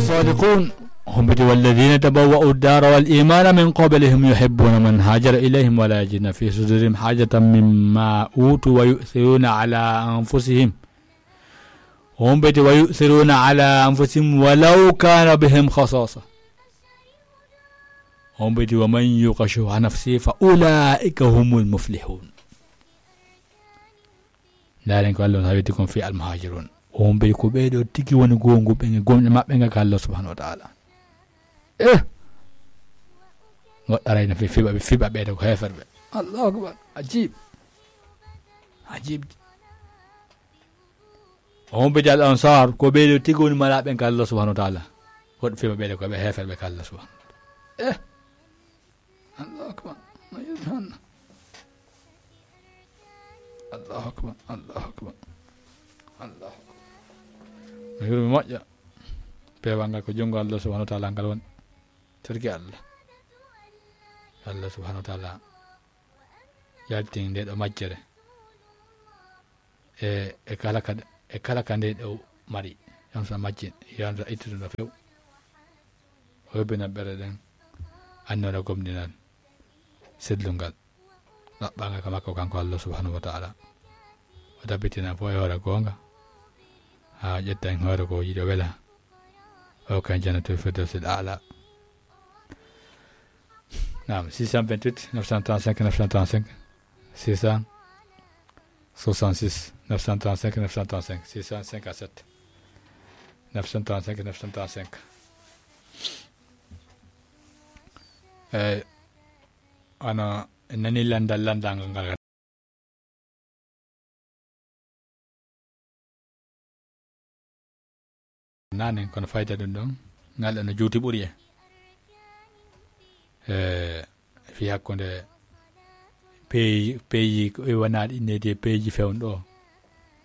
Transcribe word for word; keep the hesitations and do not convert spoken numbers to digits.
صادقون. Hombiti: والذين تبوأوا الدار والإيمان من قبلهم يحبون من هاجر إليهم ولا يجدون في صدورهم حاجة مما أوتوا ويؤثرون على أنفسهم. Hombiti: ويؤثرون على أنفسهم ولو كان بهم خصاصة. Hombiti: ومن يوق شح نفسه فأولئك هم المفلحون. Ndaaren ko Allah on hawiti kon fii almuhaajiruun. On ɓe ko ɓee ɗoo tigi woni goongu ɓe, gomɗe maɓɓe nga ka Allah subhanahu wa ta'ala. Eh! Goɗɗo arayno fi-, fiɓa, fiɓa ɓee ɗoo ko heeferɓe. Allahu akbar. Ajib. Ajib. On ɓe al ansar, ko ɓee ɗoo tigi woni malaaɓe ka Allah subhanahu wa ta'ala. Goɗɗo fiɓa ɓee ɗoo ko ɓe heeferɓe ka Allah subhanahu wa ta'ala. Eh! Allahu akbar. No yurmi hon. Allahu akbar. Allahu akbar. Allahu akbar. No yurmi moƴƴa. Peewal ngal ko junngo Allah subhanahu wa ta'ala ngal woni. Torki Allah. Allah subhanahu wa ta'ala yaltini nde ɗo majjere. E, e kala ka, e kala ka nde ɗo mari. Yon sa majjin, yon sa ittude no few. O hebbina ɓerɗe ɗen, annora gomɗinal, sellungal, ɗaɓɓanga ka makko kanko Allah subhanahu wa ta'ala. O tabbitina fof e hoore goonga, haa ƴetta en hoore ko yiɗo wela. O kan jannatul firdawsil a'la. Naam, six cent vingt-huit, neuf cent trente-cinq, neuf cent trente-cinq, six cent soixante-six, neuf cent trente-cinq, neuf cent trente-cinq, six cent cinquante-sept, neuf cent trente-cinq, neuf cent trente-cinq. Eh, ana nani landal, landal ngal. Nanen, kono fayda ɗum ɗon, ngal ɗo no juuti ɓuri en. Eh, fi hakkunde peeji, peeji ko e wanaɗi nedi e peeji fewndo.